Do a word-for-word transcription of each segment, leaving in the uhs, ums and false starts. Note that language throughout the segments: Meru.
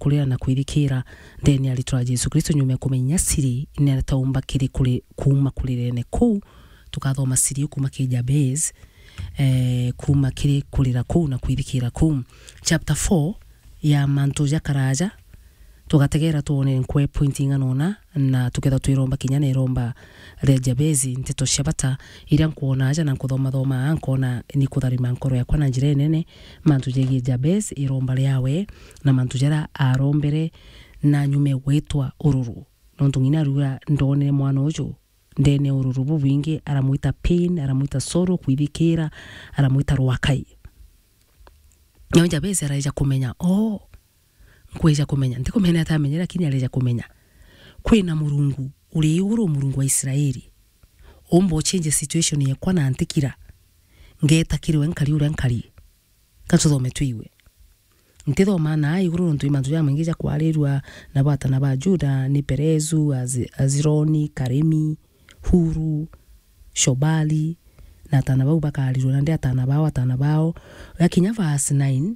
kurira na kwithikira ndene ya ritwa ria Jesu Kristo, nyuma ya kumenya siri, netaumba kiri kuri, kuuma kurirene kuu. Tukathoma siri iu kuuma kiri Jabez, eh, kuuma kiri kurira kuu na kwithikira kuu. Chapter four ya mantu ja karaja, tugategera twone nkwe point ing'ana una, na tukethirwa twiromba kinya na iromba ria Jabezi, nteto cia bata iria nkwona aja na nkuthomathoma aa, nkona ni kutharima nkoro yakwa na njira inene, mantu jegie Jabez, iromba riawe, na mantu jaria arombere, na nyume gwitwa ururu. Nontu ng'ina ariuga, ndonere mwana uju ndene ururu bubwingi, aramwita pain, aramwita sorrow, kwithikira, aramwita rwakai. Nawe Jabezi araeja kumenya, oh, nkweja kumenya, ntikumenya ni atia amenyere, lakini areja kumenya kwina Murungu uri iguru, Murungu wa Israeli, umba uchinje situation yekwa na ntikira, ngeta kiri we nkari uria nkari. Ka tuthome twigue. Ntithoma na iguru nontu i mantu jamaingi ja kwarirua na batana ba Juda, ni Perezu, Az-, Azironi, Karimi, Huru, Shobali, na atana bau bakarirua nandi atana bao, atana bao. Gakinya verse nine,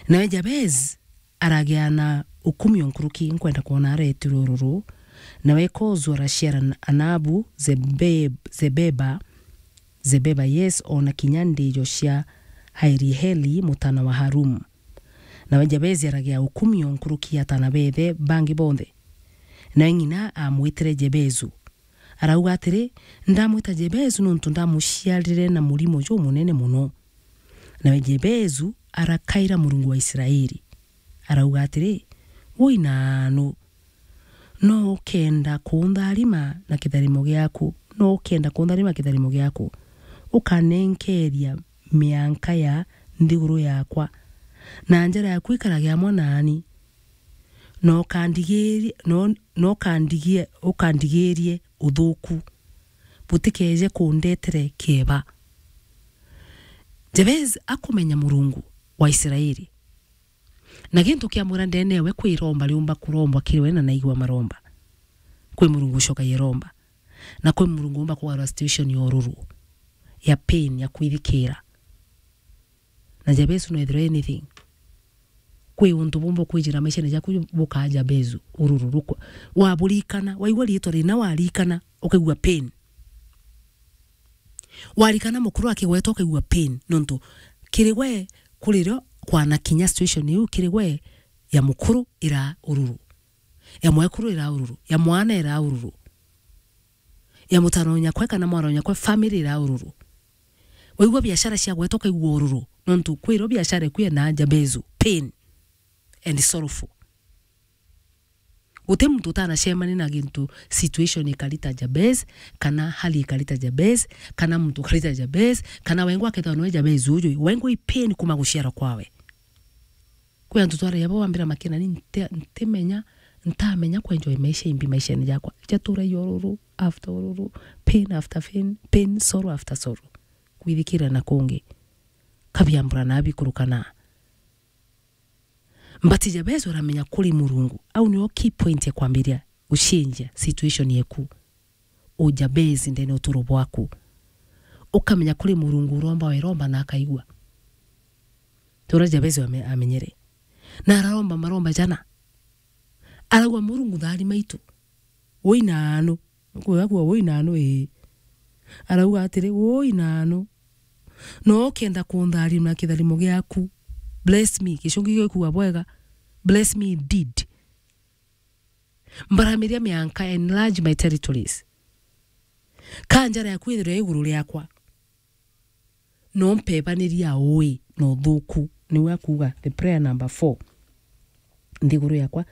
nawe Jabez aragia na ukumio nkuruki, nkwenda kwona aretirwe ururu. Nawe Kozu araciara Anabu, Zebeb-, Zebeba, Zebeba, yes, ona kinya ndijo cia Hairieli, mutana wa Harum. Nawe Jabezi aragia ukumio nkuruki ya atana beethe bangi bonthe. Nawe ng'ina aamwitire Jebezu. Arauga atiri, ndamwita Jebezu nontu ndamuciarire na murimo jumunene mono. Nawe Jebezu arakaira Murungu wa Israeli. Arauga atiri, woi naanu, no ukenda kuntharima na kitharimo giaku, no ukenda kuntharima kitharimo giaku, ukanenkeria mianka ya nthiguru yakwa, na njara yaku ikarage amwe naani, na ukandigirie, na, na ukandigie-, ukandigirie uthuku, butikeje kundetere kieba. Jabez akumenya Murungu wa Israeli, na gintu kiamwira ndene ewe kwi iromba riumba kurombwa kiri we na naigua maromba. Kwi Murungu ucokagia iromba. Na kwi Murungu umba kugarura situation ya ururu, ya pain, ya kwithikira. Na Jabezu no ethirwe anything. Kwi untu bumba ukwijira maishene jaku bukaa Jabezu, ururu rukwa. Waburikana, waigua riitwa rina warikana, ukaigua pain. Warikana mukuru akigwetwa ukaigua pain, nontu kiri we kuri rio kwana kinya situation iu kiri we ya mukuru ira ururu, ya mwekuru ira ururu, ya mwana ira ururu, ya mutano nyakwe kana mwana nyakwe family ira ururu. Waigua biashara ciagwetwa ukaigua ururu, nontu kwi rio biashara iku yena Jabezu, pain and sorrowful. Guti muntu utanacemania na gintu, situation ikari ta Jabez, kana hali ikari ta Jabez, kana muntu ukari ta Jabez, kana wengwa akethwa noe Jabez uju, wengwa i pain kuma guciarwa kwawe. Kwi antu twaragia bo wambira makena, ni nte-, ntimenya, ntamenya kwenjoy maisha imbi maishene jakwa. Jatura i ururu, after ururu, pain after pain, pain, sorrow after sorrow. Kwithikira na kungi. Kabiambura na bikurukana. But Jabezu aramenya kuri Murungu. Au nio key point ya kwambiria gucenjia situation yeku. U Jabezu ndene uturo bwaku. Ukamenya kuri Murungu uromba weromba na akaigua. Tura Jabezu ame-, amenyere. Na araromba maromba jana. Arauga, "Murungu tharima itu. Woi naanu." Kwigagua woi naanu ii. Arauga atiri, "Woi naanu. No ukenda kuntharima na kitharimo giaku. Bless me." Gicungi gikuuga bwega, "Bless me indeed. Mbaramiria mianka, enlarge my territories. Ka njara yaku ithirwe iguru riakwa." No mpebaniria ui na uthuku. Niwe akuuga the prayer number four. Nthiguru yakwa,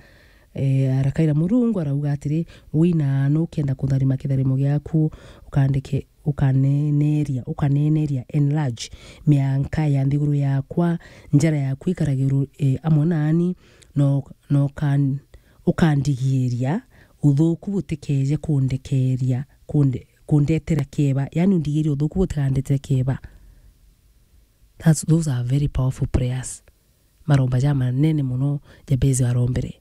eh, arakaira Murungu, arauga atiri, "Wina nu ukenda kutharima kitharimo giaku, ukandeke, ukaneneria, ukaneneria, enlarge mianka ya nthiguru yakwa, njara yaku ikarage ru-, eh, amwe nani, no, no kan-, ukandigiiria uthuku butikeje kundekeria, kunde-, kundetera kieba." Yani, undigiirie uthuku butikandetera kieba. That's, those are very powerful prayers. Maromba ja manene mono Jabezi arombere.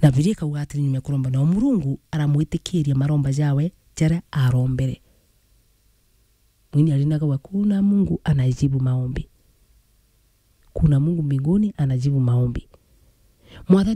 Na Bibilia ikauga atiri, nyuma ya kuromba, nao Murungu aramwitikiria maromba jawe jaria arombere. Mwini arinaga wa, "Kuna Mungu anajibu maombi. Kuna Mungu mbinguni anajibu maombi." Mwathani